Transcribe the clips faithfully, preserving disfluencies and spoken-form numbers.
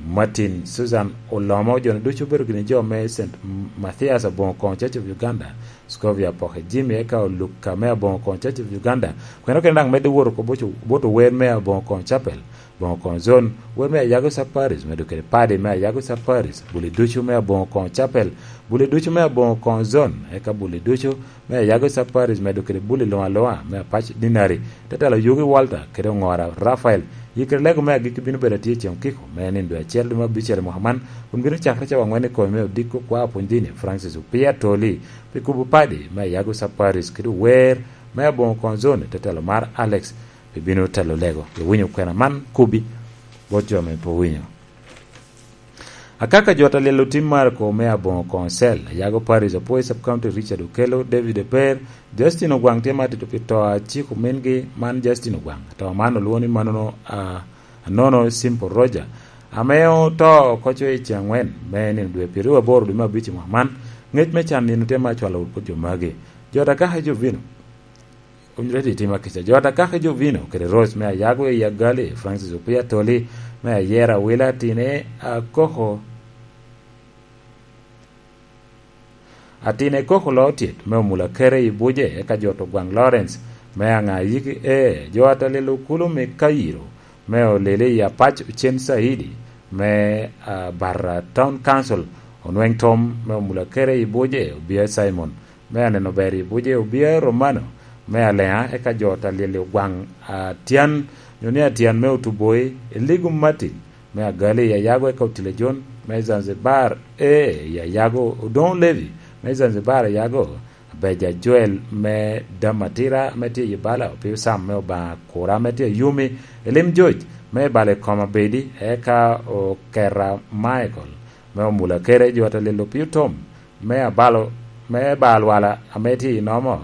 Martin, Susan Olomo, jo-ni ducu obedo gini jo me Saint Mathias aboŋo koŋo Church of Uganda, Scovia Poke Jimmy, eka Oluka me aboŋo koŋo Church of Uganda. Kweno kene daŋ medde wot oko bot, bot ower me aboŋo koŋo Chapel, aboŋo koŋo Zone, wer me Ayago Sub Parish, medo kede padi me Ayago Sub Parish, buli ducu me aboŋo koŋo Chapel, buli ducu me aboŋo koŋo Zone, eka buli ducu me Ayago Sub Parish, medo kede buli luŋ aluŋa me Apac Dinari, te telo Yugi Walter kede Oŋora Rafael. Yikere lego me agikki bino bedo atye i ceŋ okiko, me nino dwe acel dwe me abicel i mwaka man, kun bino cakere cawa angwen i kome me odiko kwa opwony dini Francis Opia Toli, pi kubo padi me Ayago Sub Parish kede ower me aboŋo koŋo Zone, te telo mar Alex, pi bino telo lego. Iwinyo kwena man kubi bot jo ame pe owinyo. Akaka jo ta lyel otim Marco me aboŋo koŋo Cell, Ayago Parish, Apwoyo Sub County, Richard Okello, David Eper, Justin Ogwaŋ tye matito pi to a ciko mingi man Justin Ogwaŋ. To man olwoŋo ni manono, a, anono Simple Roger, ame oto oko co i ceŋ angwen me nino dwe pyeraryo aboro dwe me abic i mwaka man. Ngec me can nino tye ma acwalo wot bot jo magi. Jo ta kaka Jovino, Onyulo i tim akica. Jo ta kaka Jovino kede Rose me Ayago i Agali, Francis Opia Toli me Ayera Wila, atine Akoko, atine Koko Lotyet me Omula Kere i Buje, eka jo to Gwaŋ Lawrence me Aŋa Yiki E, jo ta lyel okulu me Kayiro me Olele i Apac Ocen Saidi me, ah, Barra Town Council, Onweŋ Tom me Omula Kere i Buje, Obia Simon me Aneno Ber i Buje, Obia Romano me Aleŋa, eka jo ta lyel Ogwaŋ Atyan, nyo ni Atyan me Otuboi, Eligu Martin me Agali i Ayago, eka Otile John me Zanzibar, e, i Ayago, Odoŋo Levi me Zanzibar, Ayago, Beja Joel me Damatira me tye i Bala, Opio Sam me Obaŋa Kura me tye i Yumi, Elim George me Bala i Koma Bedi, eka Okera Michael me Omula Kere, jo ta lyel Opio Tom me abalo, me ba alwala ame tye i Nomo.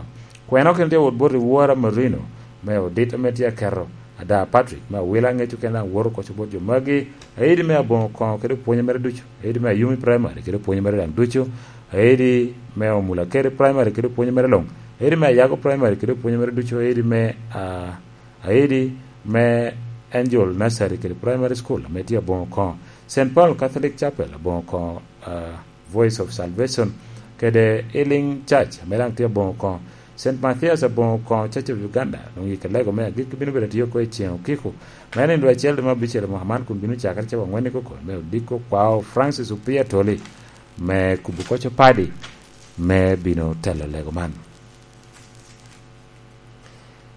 Kweno kene tye wot bot i Wora Marino me Odit ame tye aketo ada Patrick me Awila, ŋeco kene daŋ woto koco bot jo magi. Aidi me Aboŋo Koŋo kede pwonye mere ducu, aidi me Ayumi Primary kede pwonye mere daŋ ducu, aidi me Omula Kere Primary kede pwonye mere luŋ, aidi me Ayago Primary kede pwonye mere ducu, aidi me, ah, aidi me Angel Nursery kede Primary School ame tye Aboŋo Koŋo, Saint Paul Catholic Chapel Aboŋo Koŋo, ah, Voice of Salvation, kede Healing Church, ame daŋ tye Aboŋo Koŋo, Saint Mathias Aboŋo Koŋo Church of Uganda, luŋ yike lego me agikki bino bedo tye oko i ceŋ okiko, me nino dwe acel dwe me abicel i mwaka man, kun bino cakere cawa angwen i koko, me odiko kwao Francis Opia Toli, me kubo koco padi, me bino telo lego man.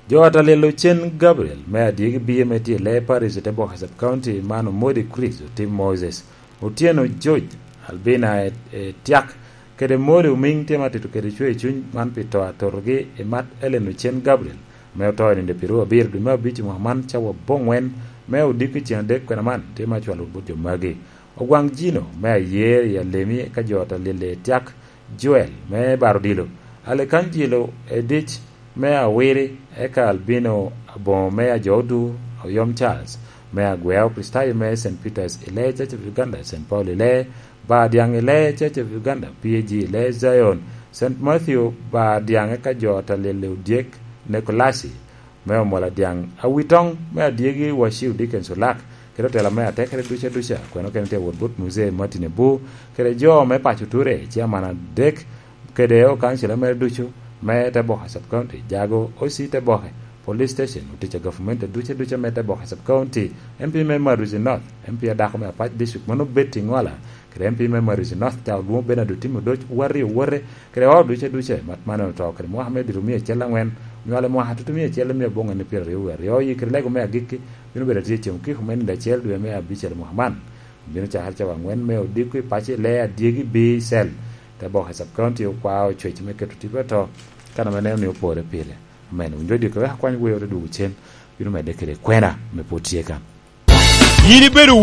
Jo ata lyel Ocen Gabriel me Adyegi Biye me tye i Lee Parish i te Boka Sub County man Omodi Chris Otim Moses, Otyeno George, Albina e, e Tyak, kede Modi Omiŋ tye ma tito kede cwer cuny man pi to atotogi i mat Ellen Ocen Gabriel, me oto i nino pyeraryo abiro dwe me abic i mwaka man cawa aboŋwen, me odiko i ceŋ adek kwena man tye ma cwalo bot jo magi. Ogwaŋ Jino me Ayer i Alemi ka jo ata lyel i Tyak, Joel me Baro Odilo, Alekanjilo Edic me Awiri, eka Albino Aboŋo me Ajodu, Oyom Charles me Agweo, Kristayo me Saint Peters i Lee Church of Uganda, Saint Paul i Lee, Bar Dyaŋ i Lee Church of Uganda, P A G i Lee Zion, Saint Matthew Bar Dyaŋ, eka jo ata lyel i Odyek, Nikolasi me Omola Dyaŋ, Awitoŋ me Adyegi Waciu Dickens Olak, kede otela me atekere duca duca, kweno kene tye wot bot Muzee Martin Ebu, kede jo me paco Ture, ciaman adek, kede okancila mere ducu me te Boka Sub County, jago O C te Boke, Police Station, otic a gavumenti duca duca me te Boka Sub County, M P me Maruzi North, M P adako me Apac District, mano Betty Ŋwala, kede M P me Maruzi North, ca olwoŋo Bernard Otim Odoc, Warri Owote, kede ot duca duca, mat mane oto kede mwaka me dito mia acel angwen, onywale mwaka tutu mia acel mia aboŋo en pyeraryo wie aryo, oyi kede lego me agikki, bino bedo atye ceŋ okiko me nino acel dwe me abicel mwaka man. Bino cakere cawa angwen me odiko i paco i Lee Adyegi B cell. Te Boka Sub County okwao cwec me keto tipo ato, kan ame neno ni opore pire. Amen. Winjo diko wek akwany wer odwogo cen, bino medde kede kwena me pwod tye kan. Yin ibedo